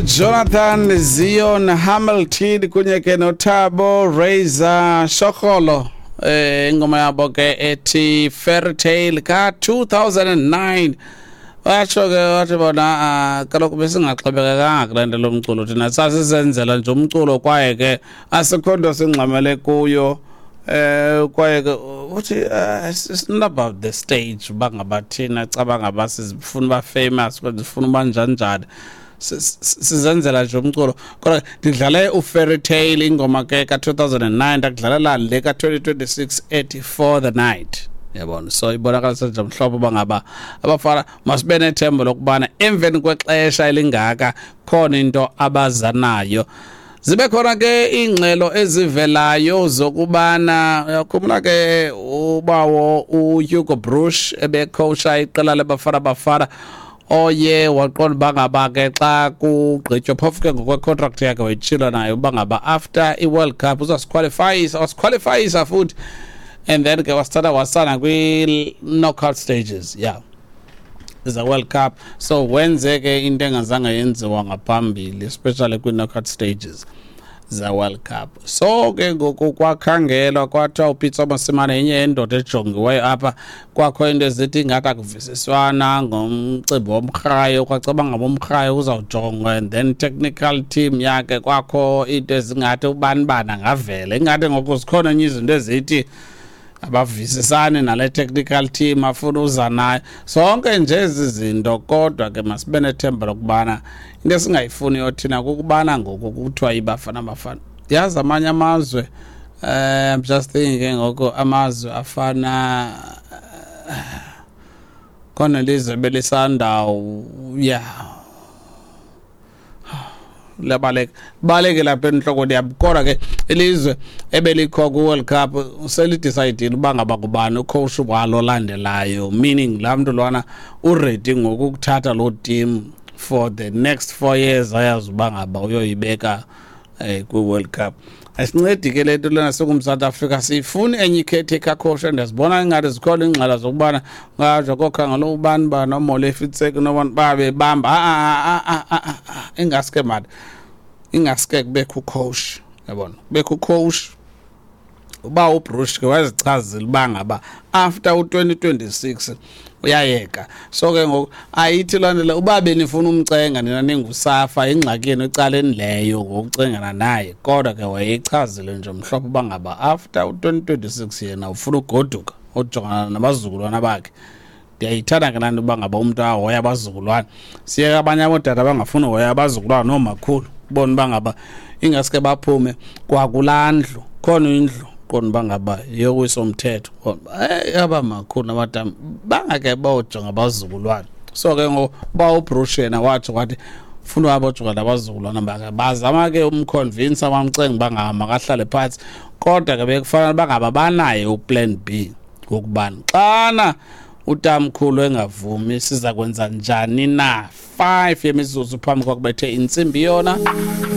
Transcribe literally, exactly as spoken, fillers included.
NguJonathan Zion Hamilton kunye ke noThabo Razor Shokolo, eh ingoma yabo ke ethi "Fairy Tale" ka two thousand nine. Watsho ke wathi bona, ah, kaloku besingaxhobekekanga kule nto lomculo, thina sasisenzela nje umculo, kwaye ke asikho nto singxamele kuyo. eh kwaye ke uthi uh, it's not about the stage, uba ngaba thina caba ngaba sifuna uba famous kodwa sifuna uba njani njani, sizenzela nje umculo. Kodwa ndidlale uFairy Tale, ingoma ke ka two thousand nine, ndakudlalela le ka twenty twenty-six ethi "For the Night", yabona. So ibonakalisa nje mhlobo uba ngaba abafana masibe nethemba lokubana emveni kwexesha elingaka khona into abazanayo. Zibe khona ke iingxelo ezivelayo zokubana, uyakhumbula ke ubawo uHugo Broos ebecoacha iqela leBafana Bafana, oye waqonda uba ngaba ke xa kugqitywa, phofu ke ngokwecontract yakhe wayitshilo nayo uba ngaba after i-World Cup uzasiqualifyisa, wasiqualifyisa futhi, and then ke wasithatha wasana kwi-knockout stages, yeah, is a World Cup. So wenze ke into engazange yenziwa ngaphambili, especially kwi-knockout stages ze-World Cup. So ke ngoku kwakhangelwa, kwathiwa uPitso Mosimane yenye yendoda ejongiweyo apha. Kwakho into ezithi ingathi akuvisiswana ngomcimbi womrhayo, kwacaba ngaba umrhayo uzawujongwa and then technical team yakhe. Kwakho into ezingathi ubani bani angavela, ingathi ngoku zikhona enye izinto ezithi abavisisani nale technical team afuna uza nayo, zonke nje ezi zinto. Kodwa ke masibe nethemba lokubana into esingayifuniyo thina kukubana ngoku kuthiwa iBafana Bafana, yazi amanye amazwe, eh I'm just thinking ke ngoku amazwe afana khona lizwe belisandawo, yeah, liyabaleka baleke lapha enhloko yabo. Kodwa ke ilizwe ebelikho ku-World Cup selidecide uba ngaba kubani ucoach walo olandelayo, meaning laa mntu lwana uready ngoku ukuthatha loo team for the next four years, ayazi uba ngaba uyoyibeka eh kwi-World Cup. Asincedi ke le nto lena singumzantsi Afrika, siyifuni enye i-caretaker coach. Ndiyazibona ingathi zikhona iingxela zokubana ngatsho kokhangela ubani bani oMolefi Ntseki nobani babebamba. Ingaske mani, ingaske kubekho ucoach, yabona, kubekho ucoach. Uba uBroos ke wazichazile uba ngaba after u-twenty twenty-six uyayeka. So ke ngoku ayithi loo nto le uba benifuna umcenga nina ninguSAFA, ingxaki yenu ecaleni leyo ngokucengana naye. Kodwa ke wayeyichazile nje mhlophe uba ngaba after u-twenty twenty-six yena ufuna ugoduka ojongana nabazukulwana bakhe. Ndiyayithanda ke laa nto uba ngaba umntu ahoya abazukulwana. Siyeke abanye abootata abangafuni uhoya abazukulwana noomakhulu, ubone uba ngaba ingaske baphume kwakulaa ndlu. Khona indlu, qonda uba ngaba yowiso-mthetho, eh aba makhulu namadama bangake bojonga abazukulwana. So ke ngoku uba uBroos yena watsho wathi funa uhamba ojonga nabazukulwana bakhe, bazama ke umconvince, bamcenga uba ngaba makahlale phantsi. Kodwa ke bekufanele uba ngaba banaye uplan B wokubani xana utamkhulu engavumi siza kwenza njani na. Five yemizuzu phambi kwakubethe intsimbi yona.